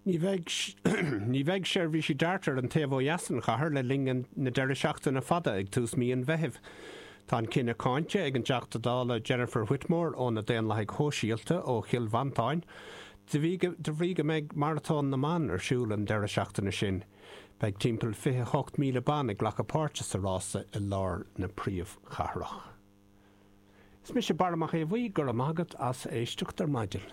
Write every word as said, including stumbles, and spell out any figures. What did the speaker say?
Ní bheidh ní bheidh seirbhísí DART ar an taobh ó dheas den chathair le linn na deireadh seachtaine fada ag tús mí an Mheithimh. Tá an cinneadh cáinte ag an dTeachta Dála Jennifer Whitmore ó na Daonlathaigh Shóisialta ó Chill Mhantáin, de bhrí go mbeidh Maratón na mBan ar siúl an deireadh seachtaine sin. Beidh timpeall fiche hocht míle ban ag glacadh páirte sa rása i lár na príomhchathrach. Is mise Barra Mac Aodha Bhuí, go raibh maith agat as éisteacht ar maidin.